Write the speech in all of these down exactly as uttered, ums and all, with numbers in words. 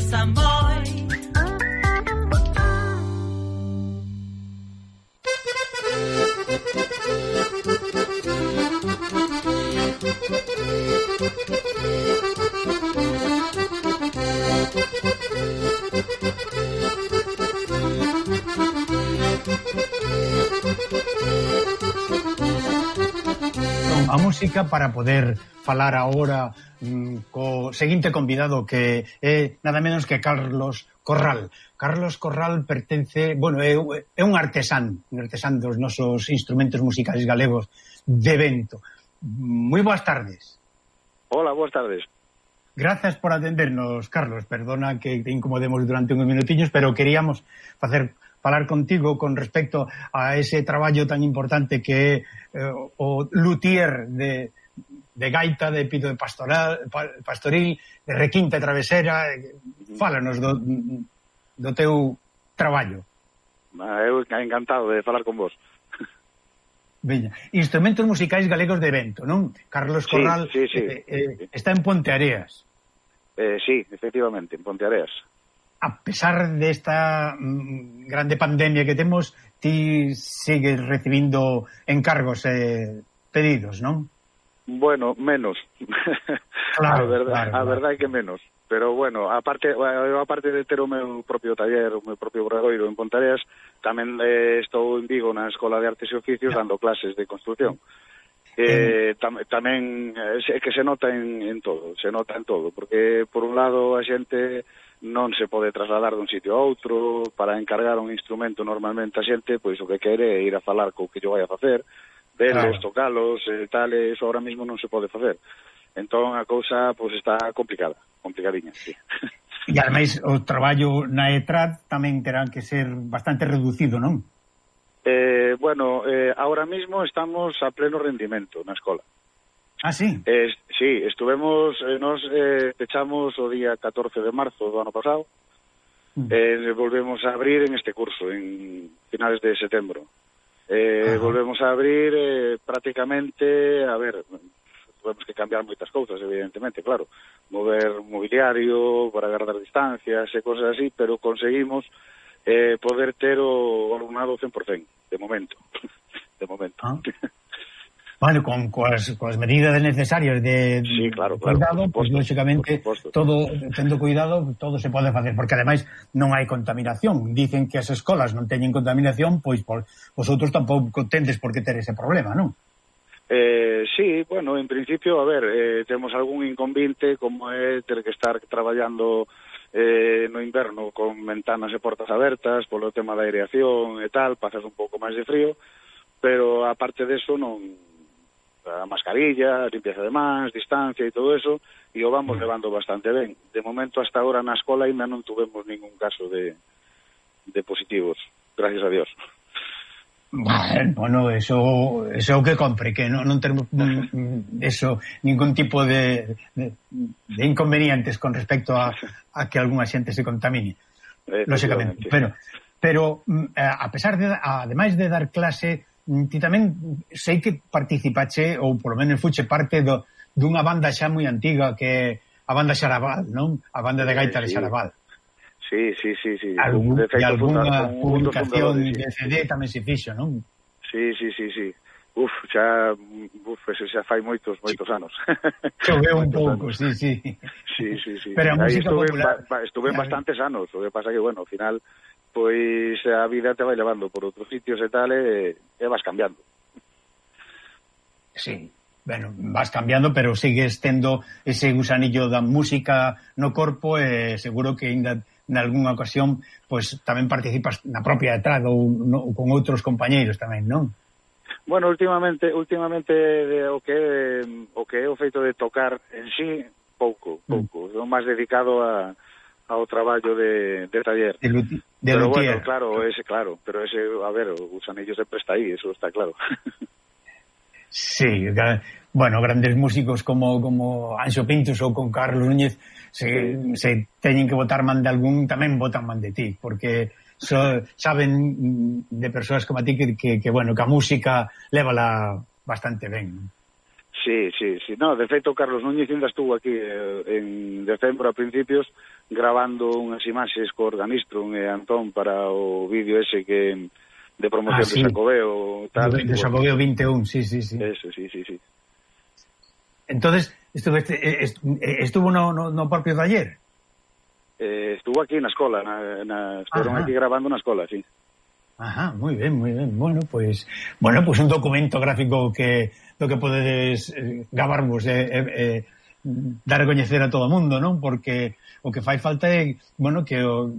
San Boi. A música para poder falar agora mm, co seguinte convidado que é nada menos que Carlos Corral. Carlos Corral pertence, bueno, é, é un artesán, un artesán dos nosos instrumentos musicais galegos de vento. Moi boas tardes. Hola, boas tardes. Grazas por atendernos, Carlos. Perdona que te incomodemos durante uns minutiños, pero queríamos facer falar contigo con respecto a ese traballo tan importante que é eh, o luthier de, de gaita, de pito de pastoral, pastoril, de requinte travesera. Fálanos do, do teu traballo. Eu encantado de falar con vos. Veña. Instrumentos musicais galegos de vento, non? Carlos Corral sí, sí, sí. Eh, eh, está en Ponteareas. Eh, sí, efectivamente, en Ponteareas. A pesar desta mm, grande pandemia que temos, ti sigues recibindo encargos e eh, pedidos, non? Bueno, menos. Claro, a verdade, claro, a claro. verdade que menos. Pero bueno, aparte, eu aparte de ter o meu propio taller, o meu propio obradoiro en Ponteareas, tamén eh, estou en Vigo na Escola de Artes e Oficios dando clases de construcción. Eh, tam, tamén é que se nota en, en todo, se nota en todo, porque por un lado a xente non se pode trasladar dun sitio a outro, para encargar un instrumento normalmente a xente, pois o que quere é ir a falar co que yo vai a facer, verlos, claro, tocalos, e tal, e iso ahora mismo non se pode facer. Entón a cousa pois está complicada, complicadiña, sí. E ademais o traballo na E T R A D tamén terán que ser bastante reducido, non? Eh, bueno, eh, ahora mismo estamos a pleno rendimento na escola. Ah, sí? Eh, sí, estuvemos, eh, nos eh, pechamos o día catorce de marzo do ano pasado, mm. eh, volvemos a abrir en este curso, en finales de setembro. Eh, volvemos a abrir eh, prácticamente, a ver, tuvemos que cambiar moitas cousas, evidentemente, claro, mover mobiliario para guardar distancias e cosas así, pero conseguimos eh, poder ter o alumnado cen por cento, de momento, de momento. Ah. Bueno, con coas, coas medidas necesarias de, sí, claro, claro, cuidado, supuesto, pues lógicamente todo, tendo cuidado, todo se pode facer, porque ademais non hai contaminación. Dicen que as escolas non teñen contaminación, pois por, vosotros tampouco tendes por que ter ese problema, non? Eh, sí, bueno, en principio, a ver, eh, temos algún inconveniente como é ter que estar traballando eh, no inverno con ventanas e portas abertas polo tema da aireación e tal, pasas un pouco máis de frío, pero aparte deso non, a mascarilla, a limpieza de mans, distancia e todo eso, e o vamos levando bastante ben. De momento, hasta ahora na escola ainda non tuvemos ningún caso de, de positivos, gracias a Dios. Bueno, eso, eso é o que compre, que non, non termos eso, ningún tipo de, de, de inconvenientes con respecto a, a que algunha xente se contamine, lógicamente. Pero, pero a pesar de, ademais de dar clase, ti tamén sei que participache, ou polo menos fuche parte do, dunha banda xa moi antiga, que é a banda Xaraval, non? A banda de gaita de Xaraval. Sí, sí, sí, sí. Algún, de feito, e algunha publicación de C D tamén se fixo, non? Sí, sí, sí, sí. Uf, xa, uf, eso xa fai moitos, moitos anos. Choveu un pouco, sí, sí. Sí, sí, sí. Pero a música estuve, popular... Ba, estuve en bastantes anos, o que pasa que, bueno, ao final, pois a vida te vai levando por outros sitios e tal, e, e vas cambiando. Sí. Bueno, vas cambiando, pero sigues tendo ese gusanillo da música no corpo e seguro que ainda nalgúnha ocasión pois tamén participas na propia E T R A D ou, no, ou con outros compañeiros tamén, non? Bueno, últimamente últimamente de, o que o que é o feito de tocar en sí, pouco, pouco. Mm. Son máis dedicado a ao traballo de, de taller. De, de pero luthier. Bueno, claro, ese claro, pero ese, a ver, o gusanillo sempre está aí, eso está claro. Sí, bueno, grandes músicos como como Anxo Pintos ou con Carlos Núñez se, se teñen que botar man de algún, tamén botan man de ti, porque so, saben de persoas como a ti que, que, que, bueno, que a música lévala bastante ben. Sí, sí, sí. No, de feito, Carlos Núñez ainda estuvo aquí eh, en decembro a principios grabando unhas imaxes co Organistrum e Antón para o vídeo ese que de promoción ah, sí. de Xacobeo tal, de, de Xacobeo vinte e un, sí, sí, sí. Eso, sí, sí, sí. Entonces, estuve, estuvo no, no, no propio taller? Eh, estuvo aquí na escola, na, na, estuveron aquí grabando na escola, sí. Ajá, moi ben, moi ben. Bueno, pois, pues, bueno, pois pues un documento gráfico que do que podedes eh, gabarvos e eh, eh, dar a coñecer a todo o mundo, non? Porque o que fai falta é, bueno, que o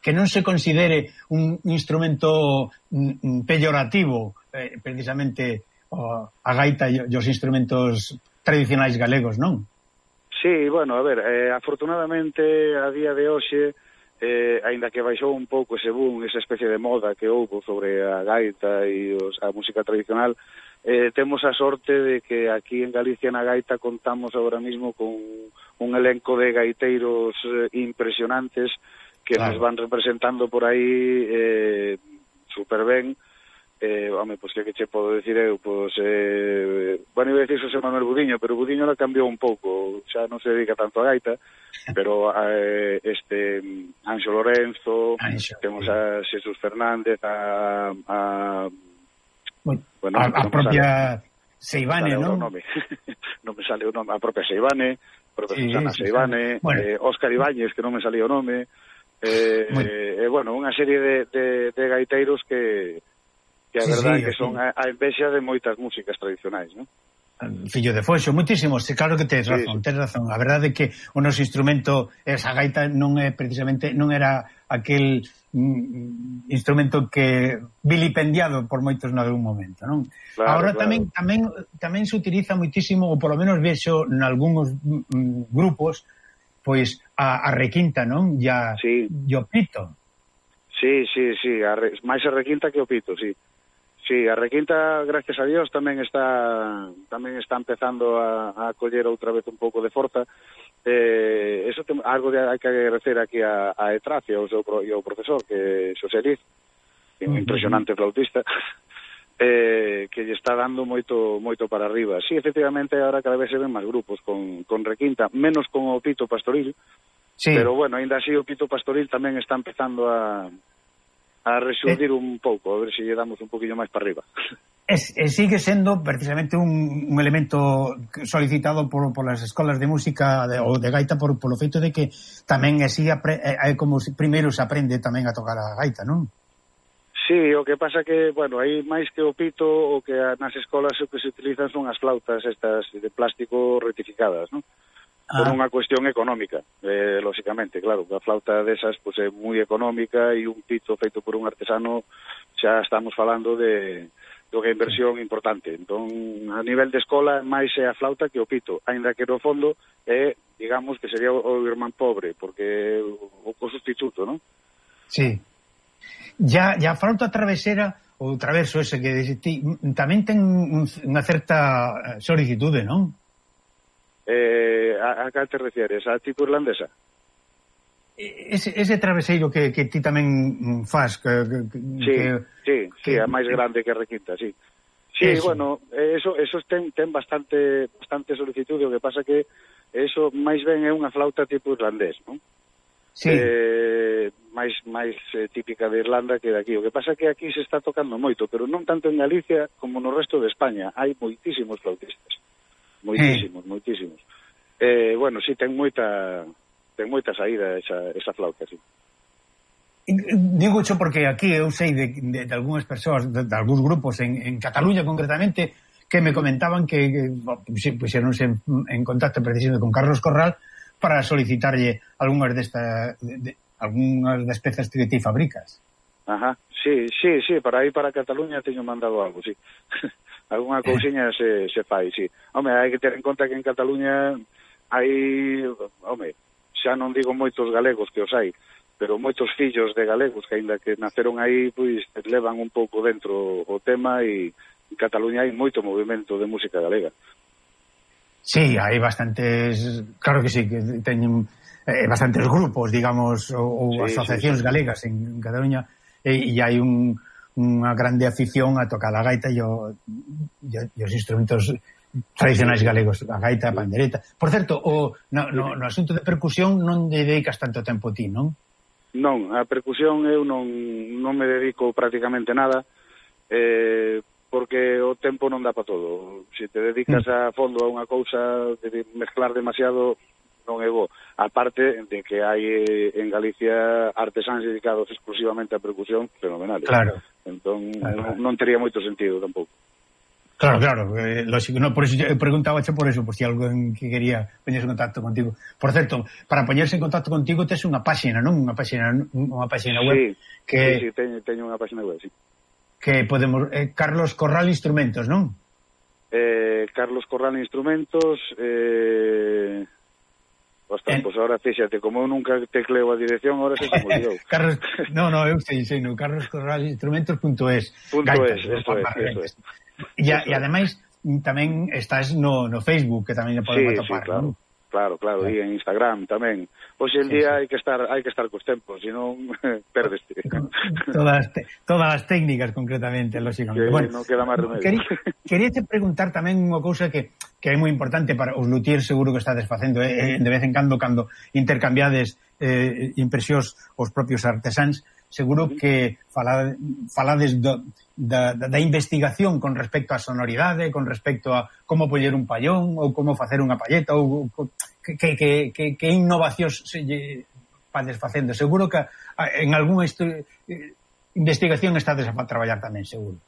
que non se considere un instrumento mm, peyorativo, eh, precisamente o, a gaita e os instrumentos tradicionais galegos, non? Sí, bueno, a ver, eh, afortunadamente a día de hoxe eh, aínda que baixou un pouco ese boom, esa especie de moda que houve sobre a gaita e os, a música tradicional, eh, temos a sorte de que aquí en Galicia na gaita contamos agora mismo con un elenco de gaiteiros eh, impresionantes que claro. nos van representando por aí eh, super ben. Eh, home, pois que que che podo decir eu, pois eh, bueno, iba a decir Xosé Manuel Budiño, pero Budiño la cambiou un pouco, xa non se dedica tanto a gaita, pero eh, este Anxo Lorenzo, Anxo, temos sí. a Xesús Fernández, a, a bueno, bueno, a, a propia Seivane, non? Non me sale o nome, a propia Seivane, a propia sí, Susana sí, Seivane, bueno. eh, Óscar Ibáñez, que non me salía o nome, eh, eh, eh, bueno, unha serie de, de, de gaiteiros que que a sí, verdade sí, que son a, a envexa de moitas músicas tradicionais, non? Fillo de Foxo, moitísimos, claro que tes razón, sí, sí. tes razón. A verdade é que o noso instrumento, esa gaita non é precisamente, non era aquel mm, instrumento que vilipendiado por moitos nalgún momento, non? Claro, Agora claro. tamén tamén tamén se utiliza moitísimo, ou polo menos vexo nalgúns mm, grupos, pois a, a requinta, non? Ya sí. o pito. Sí, sí, sí, a re, máis a requinta que o pito, sí. Sí, a requinta, gracias a Dios, tamén está tamén está empezando a, a coller outra vez un pouco de forza. Eh, eso tem, algo de, hai que agradecer aquí a, a Etracia, o seu e o profesor, que é Xosé Liz, un uh-huh. impresionante flautista, eh, que lle está dando moito moito para arriba. Sí, efectivamente, ahora cada vez se ven máis grupos con, con requinta, menos con o pito pastoril, sí. pero bueno, ainda así o pito pastoril tamén está empezando a... a resurdir eh, un pouco, a ver se lle damos un poquinho máis para arriba. Es, es, sigue sendo precisamente un, un elemento solicitado por, por las escolas de música de, ou de gaita por, por o feito de que tamén así apre, é como primeiro se aprende tamén a tocar a gaita, non? Sí, o que pasa que, bueno, aí máis que o pito, o que nas escolas o que se utilizan son as flautas estas de plástico rectificadas, non? Por ah. unha cuestión económica, eh, lóxicamente, claro, a flauta desas pues, é moi económica e un pito feito por un artesano xa estamos falando de, de unha inversión importante. Entón, a nivel de escola, máis é a flauta que o pito, aínda que no fondo é, digamos, que sería o, o irmán pobre, porque o, o sustituto, non? Sí. Ya, ya a flauta travesera, o traverso ese que ti, tamén ten un, unha certa solicitude, non? Eh, a, a que te refieres? A tipo irlandesa? Ese, ese traveseiro que, que ti tamén faz que, que, sí, que, sí, sí, que, a máis grande que a requinta, sí. Sí, eso. Bueno, eso, eso ten, ten bastante bastante solicitude, o que pasa que eso máis ben é unha flauta tipo irlandés, non? Sí. Eh, máis máis eh, típica de Irlanda que de aquí. O que pasa que aquí se está tocando moito, pero non tanto en Galicia como no resto de España. Hai moitísimos flautistas. Moitísimos, eh. moitísimos. Eh, bueno, sí, ten moita ten moita saída esa, esa flauta, sí. Digo xo porque aquí eu sei de, de, de algunhas persoas, de, de algúns grupos en, en Cataluña concretamente, que me comentaban que, que puxeronse en, en contacto precisamente con Carlos Corral para solicitarlle algunhas desta de, de, algunhas das pezas que ti fabricas. Ajá, sí, sí, sí, para aí para Cataluña teño mandado algo, sí. Alguna cousiña se, se fai, sí. Home, hai que ter en conta que en Cataluña hai, home, xa non digo moitos galegos que os hai, pero moitos fillos de galegos que aínda que naceron aí, pois levan un pouco dentro o tema e en Cataluña hai moito movimento de música galega. Sí, hai bastantes, claro que sí, que teñen eh, bastantes grupos, digamos, ou, ou sí, asociacións sí, sí. galegas en Cataluña, e, e hai un unha grande afición a tocar a gaita e, o, e, e os instrumentos tradicionais galegos, a gaita, a pandereta. Por certo, o, no, no, no asunto de percusión non dedicas tanto tempo ti, non? Non, a percusión eu non, non me dedico prácticamente nada, eh, porque o tempo non dá para todo. Se te dedicas a fondo a unha cousa, de mezclar demasiado, non é bo. Aparte de que hai en Galicia artesáns dedicados exclusivamente a percusión fenomenales. Claro. Entón, claro. non, non tería moito sentido tampouco. Claro, claro, eh, lógico, no, por eso eu preguntábache por eso, por si alguén que quería poñerse en contacto contigo. Por certo, para poñerse en contacto contigo tes unha páxina, non? Unha páxina, unha páxina web sí, que sí, sí, teño, teño unha páxina web, sí. Que podemos eh, Carlos Corral Instrumentos, non? Eh, Carlos Corral Instrumentos, eh Ostras, eh. pois agora fíxate, como eu nunca tecleo a dirección, agora se me olvidou. Carlos, no, no, eu sei, sei, no, carlos corral instrumentos punto es. Punto es, eso es, eso es. E, e ademais tamén estás no, no Facebook, que tamén podemos sí, atopar, sí, claro. ¿no? Claro, claro, e en Instagram tamén. Hoxe en día sí, sí. hai que estar hai que estar cos tempos, senón perdeste. Todas te, todas as técnicas concretamente, lógicamente. Que bueno, non queda máis remedio. Quería, quería te preguntar tamén unha cousa que que é moi importante para os luthiers, seguro que estades facendo eh, de vez en cando cando intercambiades eh, impresións os propios artesáns, seguro que falade, falades do, da, da investigación con respecto á sonoridade, con respecto a como poñer un pallón ou como facer unha palleta ou que, que, que, que, que innovacións se lle vades facendo. Seguro que en algunha investigación estades a traballar tamén, seguro.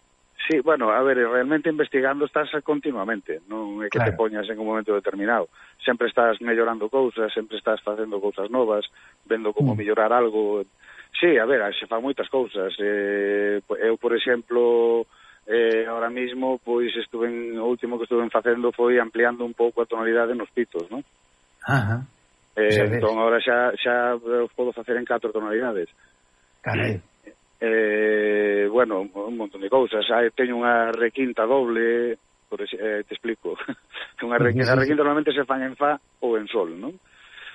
Sí, bueno, a ver, realmente investigando estás continuamente, non é que claro. te poñas en un momento determinado. Sempre estás mellorando cousas, sempre estás facendo cousas novas, vendo como mm. mellorar algo. Sí, a ver, se fan moitas cousas. Eh, eu, por exemplo, eh, ahora mismo, pois estuve en, o último que estuve facendo foi ampliando un pouco a tonalidade nos pitos, non? Ajá. Eh, entón, agora xa, xa os podo facer en catro tonalidades. Carai. Eh, bueno, un montón de cousas. Hai, teño unha requinta doble, por ese, eh, te explico. unha requinta, a requinta normalmente se fan en fa ou en sol, non?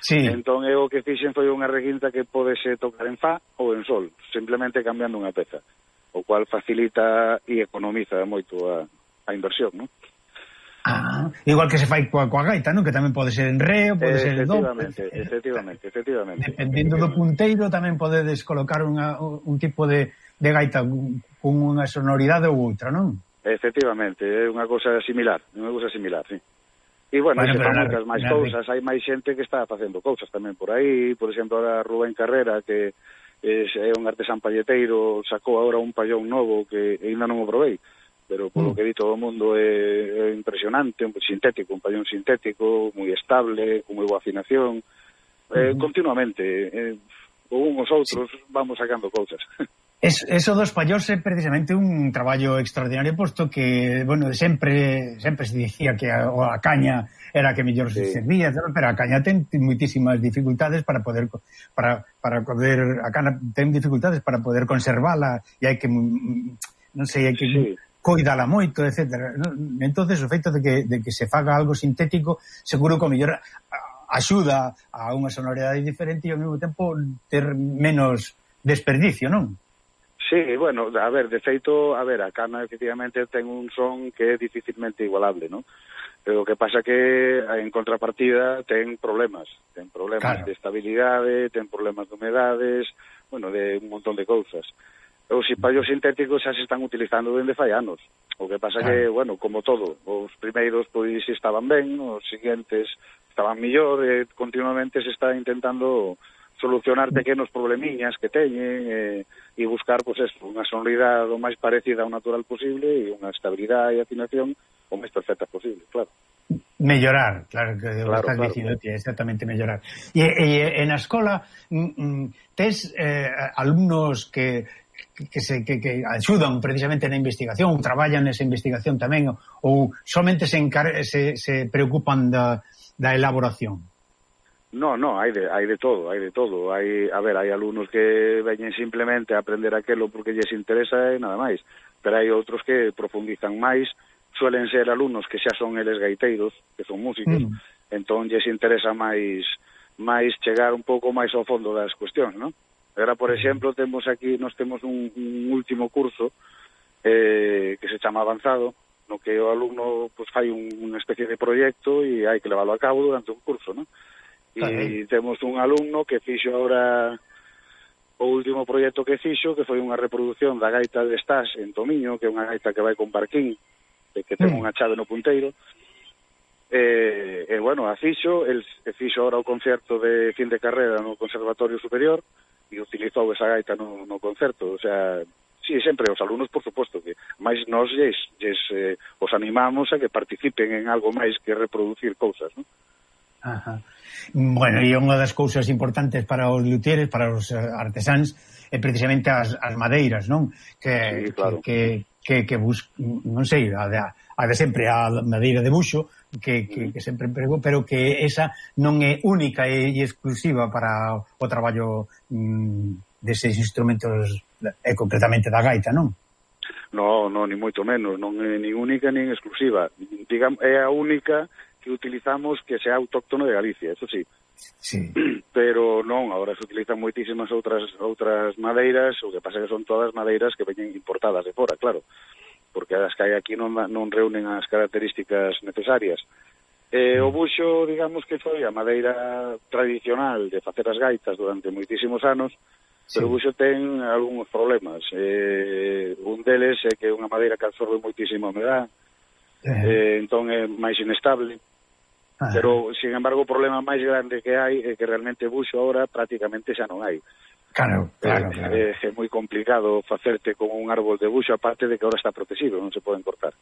Sí. Entón, eu o que fixen foi unha requinta que podese tocar en fa ou en sol, simplemente cambiando unha peza, o cual facilita e economiza moito a, a inversión, non? Ah, igual que se fai coa, coa gaita, non? Que tamén pode ser en re, ou pode ser en do. Efectivamente, efectivamente, efectivamente. Dependendo do punteiro tamén podedes colocar unha, un tipo de, de gaita con unha sonoridade ou outra, non? Efectivamente, é unha cousa similar, unha cousa similar, sí. E, bueno, bueno se fan moitas máis cousas, hai máis xente que está facendo cousas tamén por aí, por exemplo, ahora Rubén Carrera, que é un artesán palleteiro, sacou agora un pallón novo que ainda non o provei, pero polo mm. que di todo o mundo é, é impresionante, un sintético, un pallón sintético, moi estable, con moi boa afinación, eh, mm. continuamente, eh, con uns outros sí. vamos sacando cousas. Es, eso dos pallóns é precisamente un traballo extraordinario, posto que, bueno, sempre sempre se dicía que a, a caña era a que mellor sí. se servía, pero a caña ten moitísimas dificultades para poder para para poder a caña ten dificultades para poder conservala e hai que non sei, hai que sí. coidala moito, etcétera. Entonces o feito de que de que se faga algo sintético, seguro que o mellor axuda a unha sonoridade diferente e ao mesmo tempo ter menos desperdicio, non? Sí, bueno, a ver, de feito, a ver, a cana efectivamente ten un son que é dificilmente igualable, ¿no? Pero o que pasa que en contrapartida ten problemas, ten problemas claro. de estabilidade, ten problemas de humedades, bueno, de un montón de cousas. Os pallos sintéticos xa se están utilizando dende fai anos. O que pasa claro. que, bueno, como todo, os primeiros pois estaban ben, os seguintes estaban millor, e continuamente se está intentando solucionar pequenos problemiñas que teñen e, e buscar, pois, pues, eso, unha sonoridade o máis parecida ao natural posible e unha estabilidade e afinación o máis perfecta posible, claro. Mellorar, claro, que claro, estás claro, dicindo, claro. exactamente mellorar. E, e en a escola mm, tes eh, alumnos que que se que, que axudan precisamente na investigación, ou traballan nesa investigación tamén, ou somente se, encar se, se preocupan da, da elaboración? No, no, hai de, hai de todo, hai de todo. Hai, a ver, hai alumnos que veñen simplemente a aprender aquelo porque lles interesa e nada máis. Pero hai outros que profundizan máis, suelen ser alumnos que xa son eles gaiteiros, que son músicos, mm. entón lles interesa máis máis chegar un pouco máis ao fondo das cuestións, non? Agora, por exemplo, temos aquí, nos temos un, un último curso eh, que se chama Avanzado, no que o alumno pues fai un, unha especie de proxecto e hai que leválo a cabo durante un curso, non? E temos un alumno que fixo ahora o último proxecto que fixo, que foi unha reproducción da gaita de Estás en Tomiño, que é unha gaita que vai con barquín, que ten unha chave no punteiro. E, e bueno, a fixo, el fixo ahora o concerto de fin de carrera no Conservatorio Superior e utilizou esa gaita no, no concerto, o sea, sí, sempre os alumnos, por suposto, que máis nós lles, lles eh, os animamos a que participen en algo máis que reproducir cousas, non? Ajá. Bueno, e unha das cousas importantes para os luthieres, para os artesáns, é precisamente as, as madeiras, non? Que, sí, claro. que, que, que bus, non sei, a de, a de sempre a madeira de buxo, que, que, que sempre emprego, pero que esa non é única e, e exclusiva para o traballo mm, deses instrumentos, e concretamente da gaita, non? No, no, ni moito menos, non é nin única nin exclusiva. Digamos, é a única que utilizamos que sea autóctono de Galicia, eso sí. Sí. Pero non, agora se utilizan moitísimas outras outras madeiras, o que pasa que son todas madeiras que veñen importadas de fora, claro, porque as que hai aquí non, non reúnen as características necesarias. Eh, o buxo, digamos que foi a madeira tradicional de facer as gaitas durante moitísimos anos, sí. Pero o buxo ten algúns problemas. Eh, un deles é que é unha madeira que absorbe moitísima humedad, eh. Eh, entón é máis inestable. Ah. Pero, sin embargo, o problema máis grande que hai é que realmente buxo ahora prácticamente xa non hai. Claro, claro, claro. É, é moi complicado facerte con un árbol de buxo, aparte de que ahora está protegido, non se poden cortar.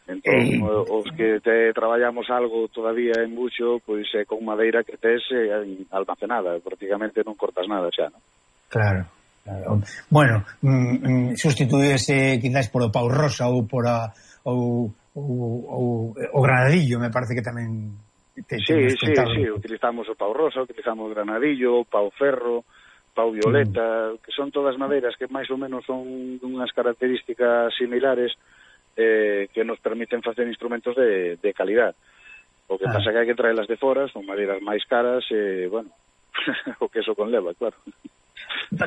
Entón, Ei. os que te traballamos algo todavía en buxo, pois é con madeira que tes eh, almacenada, prácticamente non cortas nada xa, non? Claro, claro. Bueno, mm, sustituíese quizás por o pau rosa ou por a ou, ou, ou o granadillo, me parece que tamén te, sí, sí, sí, utilizamos o pau rosa, utilizamos o granadillo, o pau ferro, pau violeta, mm. que son todas madeiras que máis ou menos son unhas características similares eh, que nos permiten facer instrumentos de, de calidad. O que ah. pasa que hai que traelas de fora, son madeiras máis caras e, eh, bueno, o que eso conleva, claro.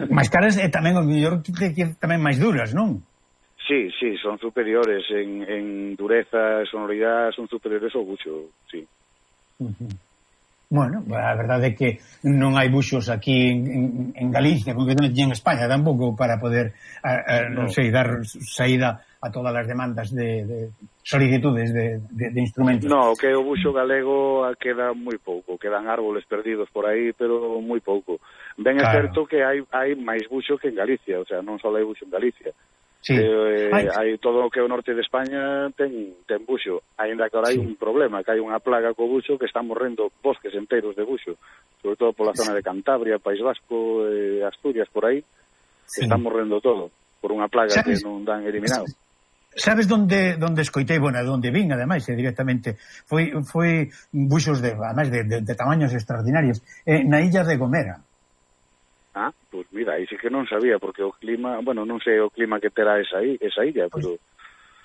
Máis caras e tamén o mellor tamén máis duras, non? Sí, sí, son superiores en, en dureza e sonoridade, son superiores ao buxo, sí. Uh-huh. Bueno, a verdade é que non hai buxos aquí en, en, en Galicia, concretamente en España tampouco, para poder, a, a, non no. sei, dar saída a todas as demandas de, de solicitudes de, de, de instrumentos. No, que o buxo galego queda moi pouco, quedan árboles perdidos por aí, pero moi pouco. Ben claro. É certo que hai, hai máis buxo que en Galicia, o sea, non só hai buxo en Galicia. Sí. Eh, hai todo o que o norte de España ten, ten buxo, aínda que ahora hai sí. un problema, que hai unha plaga co buxo que están morrendo bosques enteros de buxo, sobre todo pola zona de Cantabria, País Vasco, eh, Asturias, por aí, sí. están morrendo todo, por unha plaga ¿Sabes? Que non dan eliminado. Sabes donde donde escoitei, bueno, donde vin, ademais, eh, directamente, foi foi buxos de, ademais, de, de, de tamaños extraordinarios, eh, na illa de Gomera. Ah, pois pues mira, aí sí que non sabía, porque o clima, bueno, non sei o clima que terá esa, esa illa, pero...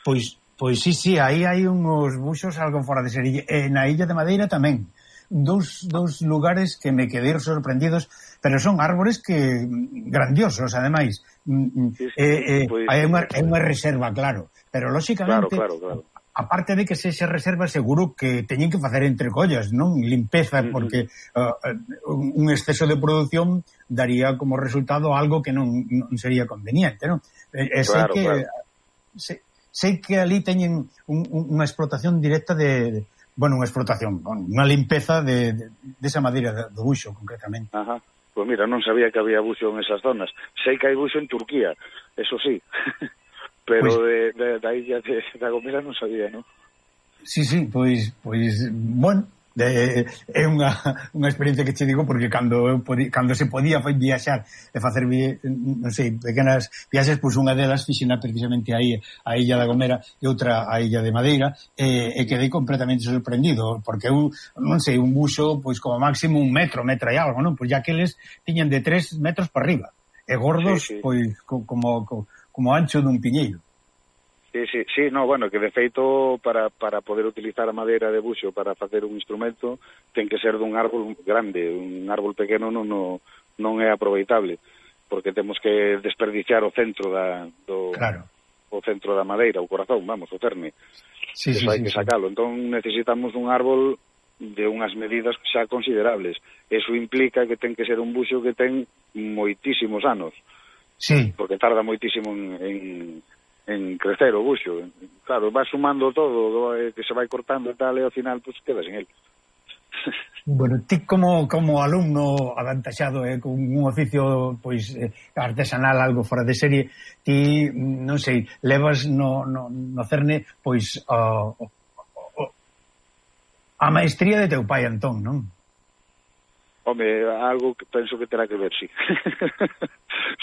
Pois, pois sí, sí, aí hai uns buxos algo fora de serie, e na illa de Madeira tamén. Dous, dous lugares que me quedei sorprendidos, pero son árbores que grandiosos, ademais. Sí, sí, eh, eh, pues, hai unha, é unha reserva, claro, pero lóxicamente... Claro, claro, claro. Aparte de que se se reserva, seguro que teñen que facer entre collas, non? Limpeza, porque uh, un exceso de producción daría como resultado algo que non, non sería conveniente, non? E, e sei claro, que claro. Sei, sei que ali teñen un, un, unha explotación directa de, de bueno, unha explotación, unha limpeza de, de, de esa madeira do buxo, concretamente. Ajá. Pois pues mira, non sabía que había buxo en esas zonas. Sei que hai buxo en Turquía, eso sí. Pero pues, de, de, da illa de, da Gomera non sabía, non? Sí, sí, pois, pois bueno, de, é unha, unha experiencia que che digo, porque cando eu podi, cando se podía foi viaxar e facer, non sei, pequenas viaxes, pois unha delas fixena precisamente aí a illa da Gomera e outra a illa de Madeira, e, e quedei completamente sorprendido, porque eu, non sei, un buxo, pois como máximo un metro, metro e algo, non? Pois ya que eles tiñan de tres metros para arriba, e gordos, sí, sí. pois, como... como como ancho dun piñeiro. Sí, sí, sí, no, bueno, que de feito para, para poder utilizar a madeira de buxo para facer un instrumento ten que ser dun árbol grande, un árbol pequeno non, non, non é aproveitable, porque temos que desperdiciar o centro da, do, claro. o centro da madeira, o corazón, vamos, o cerne. Sí, Eso sí, hai sí, que sí. sacalo. Entón necesitamos un árbol de unhas medidas xa considerables. Eso implica que ten que ser un buxo que ten moitísimos anos. Sí. Porque tarda moitísimo en, en, en crecer o buxo. Claro, va sumando todo, que se vai cortando e tal, e ao final, pues, quedas en el. Bueno, ti como, como alumno avantaxado, eh, con un oficio pois eh, artesanal algo fora de serie, ti, non sei, levas no, no, no cerne pois a, a, a maestría de teu pai, Antón, non? Home, algo que penso que terá que ver, sí.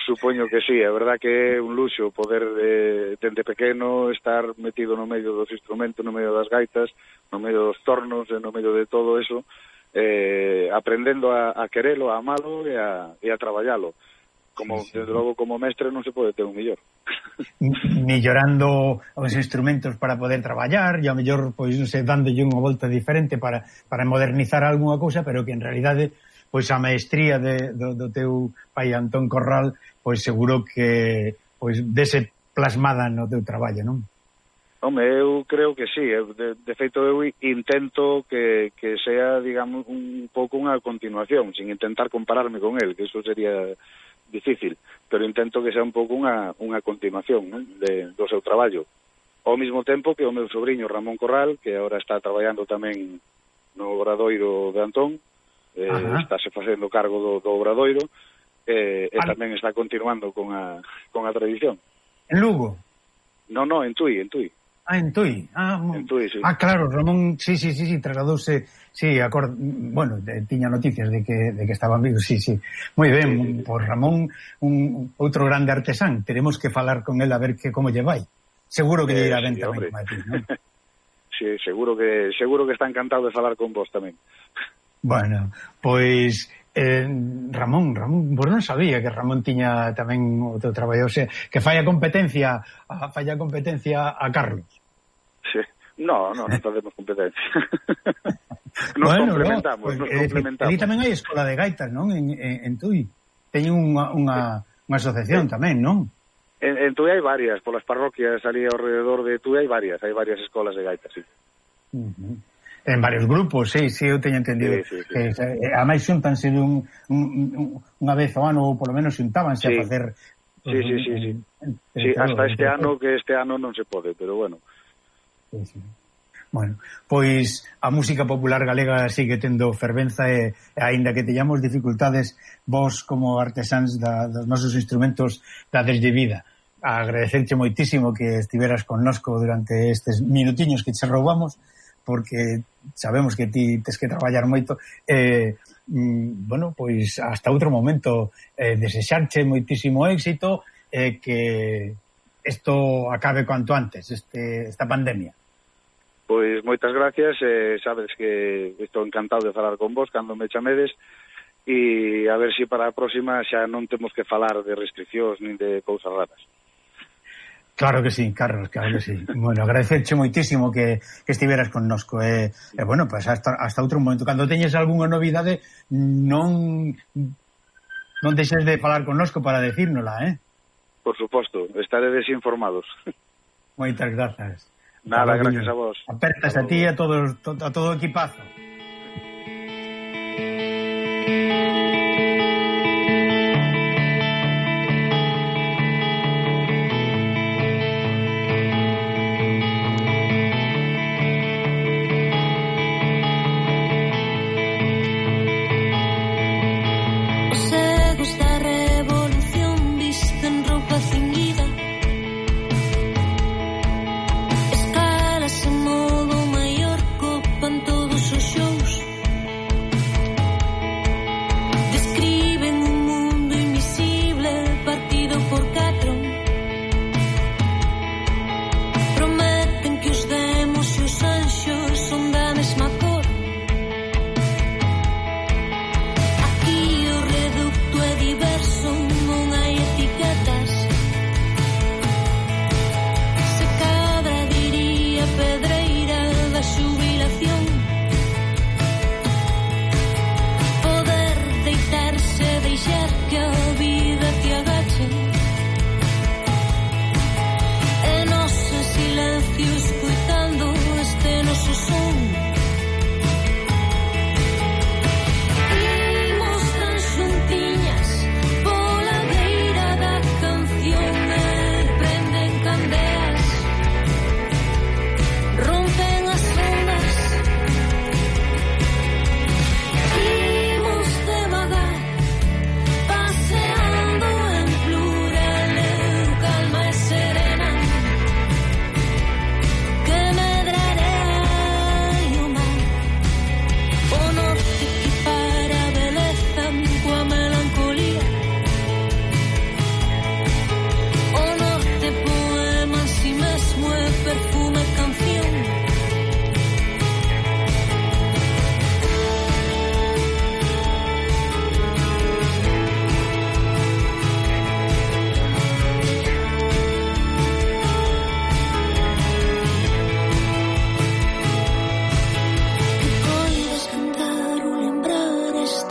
Supoño que sí, é verdad que é un luxo poder eh, dende pequeno estar metido no medio dos instrumentos, no medio das gaitas, no medio dos tornos, e no medio de todo eso, eh, aprendendo a, a querelo, a amalo e a, e a traballalo. Como, sí, sí. Desde logo, como mestre non se pode ter un millor. Millorando os instrumentos para poder traballar, e a mellor, pois, non sei, dándolle unha volta diferente para, para modernizar algunha cousa, pero que en realidade, pois, a maestría de, do, do teu pai Antón Corral, pois, seguro que, pois, dese plasmada no teu traballo, non? Home, eu creo que sí, de, de feito eu intento que, que sea, digamos, un pouco unha continuación, sin intentar compararme con él, que eso sería difícil, pero intento que sea un pouco unha, unha continuación, ¿no?, de, do seu traballo. Ao mesmo tempo que o meu sobrinho Ramón Corral, que agora está traballando tamén no Obradoiro de Antón, eh, estáse facendo cargo do, do Obradoiro, eh, e tamén está continuando con a, con a tradición. En Lugo? No, no, en Tui, en Tui. Ah, en Tui. Ah, en Tui, sí. Ah, claro, Ramón, sí, sí, sí, sí, trasladouse, sí, acord... bueno, de, tiña noticias de que, de que estaban vivos, sí, sí. Moi ben, sí, sí, por Ramón, un outro grande artesán, teremos que falar con él a ver que como lle vai. Seguro que lle irá ben sí, tamén como a ti, non? Sí, seguro que seguro que está encantado de falar con vos tamén. Bueno, pois eh, Ramón, Ramón, vos non sabía que Ramón tiña tamén o teu traballo, o sea, que fai a competencia, a, fai a competencia a Carlos. Sí. No, no, non facemos competencia. Nos bueno, complementamos, no, nos eh, complementamos. Ali tamén hai escola de gaitas, non? En, en, en Tui. Teñen unha, unha, unha asociación sí. tamén, non? En, en Tui hai varias, polas parroquias ali ao rededor de Tui hai varias, hai varias escolas de gaitas, sí. Uh-huh. En varios grupos, sí, sí, eu teño entendido. Sí, sí, sí. Que, eh, a máis xuntanse un, un, un, unha vez ao ano, ou polo menos xuntábanse sí. a facer... Sí, sí, sí, sí. En, en, sí, hasta este ano, que este ano non se pode, pero bueno. Sí, sí. Bueno, pois a música popular galega sigue tendo fervenza e, e aínda que teñamos dificultades, vos como artesáns da, dos nosos instrumentos dades de vida. Agradecerche moitísimo que estiveras connosco durante estes minutiños que che roubamos, porque sabemos que ti tes que traballar moito. Eh, mm, bueno, pois hasta outro momento, eh, desexarche moitísimo éxito e eh, que isto acabe cuanto antes, este, esta pandemia. Pois moitas gracias, eh, sabes que estou encantado de falar con vos cando me chamedes, e a ver se si para a próxima xa non temos que falar de restriccións nin de cousas raras. Claro que sí, Carlos, claro que sí. Bueno, agradecerche moitísimo que, que estiveras connosco. E, eh, eh, bueno, pues hasta, hasta outro momento. Cando teñes algunha novidade, non non deixes de falar connosco para decírnola, eh? Por suposto, estaredes informados. Moitas grazas. Nada, gracias a vos. Apertas a, a ti e a, todos, a todo o equipazo.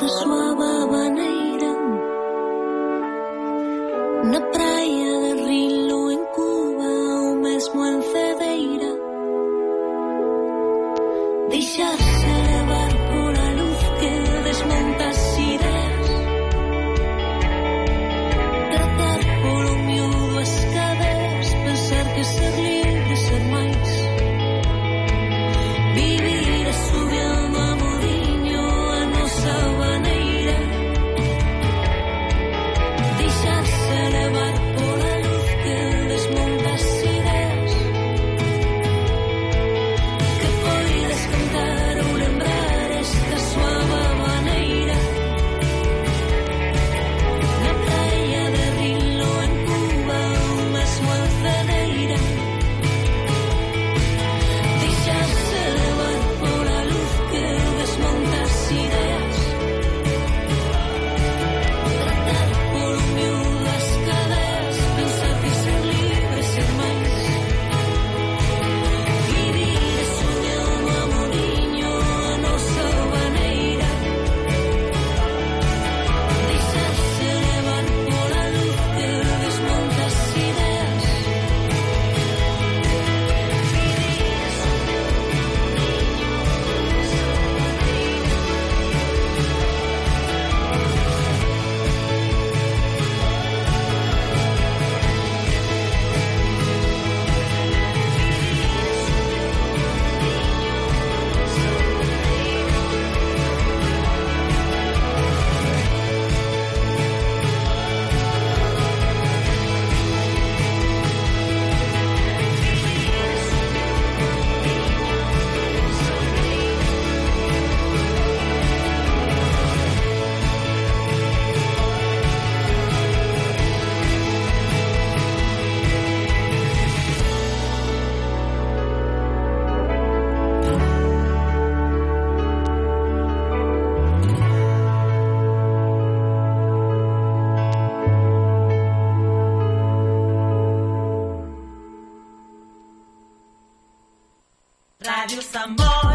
esta suave maneira na praia de Rilo en Cuba ou mesmo en Cedeira, deixarse levar pola luz que desmonta as ideas, tratar polo miúdo as cadeas, pensar que ser libre, ser máis, vivir asubiando a modiño a nosa maneira, deixarse levar pola luz que desmonta as ideas, que poides cantar ou lembrar esta suave maneira na praia de Rilo en Cuba ou mesmo en Cedeira, deixarse levar pola luz que desmonta as ideas, tratar polo miúdo as cadeas, pensar que ser libre, ser máis, vivir e soñando a modiño a nosa maneira, deixarse levar pola luz que desmonta as ideas, Radio Samboy.